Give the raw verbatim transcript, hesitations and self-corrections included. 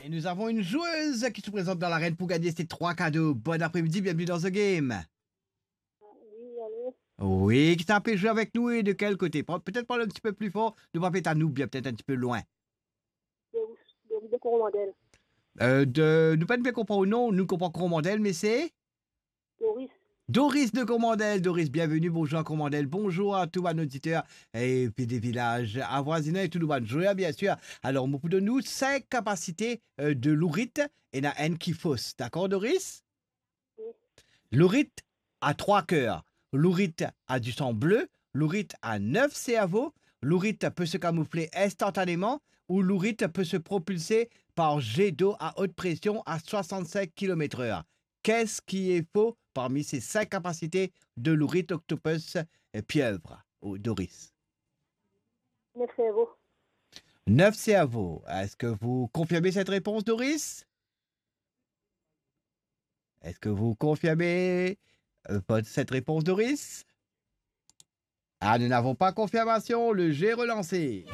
Et nous avons une joueuse qui se présente dans l'arène pour gagner ses trois cadeaux. Bon après-midi, bienvenue dans The Game. Oui, allô? Oui, qui t'a fait jouer avec nous et de quel côté? Pe-, peut-être parler un petit peu plus fort, nou pa pe tann ou bien, peut-être un petit peu loin. De, de, de Coromandel. Euh, de, nou pa bien konpran ou non, nou konpran Coromandel, mais c'est Doris. Doris de Coromandel. Doris, bienvenue, bonjour à Coromandel, bonjour à tous nos auditeurs et puis des villages avoisinants et tous nos joueurs, bien sûr. Alors, nou pou donn ou cinq capacités euh, de lourit, ena enn ki fos, d'accord, Doris? Oui. Lourit a trois cœurs. Lourit a du sang bleu, lourit a neuf cerveaux, lourit peut se camoufler instantanément ou lourit peut se propulser par jet d'eau à haute pression à soixante-cinq kilomètres heure. Qu'est-ce qui est faux parmi ces cinq capacités de lourit, octopus, euh, pieuvre ou Doris? Neuf cerveaux. Neuf cerveaux. Est-ce que vous confirmez cette réponse, Doris? Est-ce que vous confirmez euh, votre- cette réponse, Doris? Ah, nous n'avons pas confirmation. Le jeu est relancé.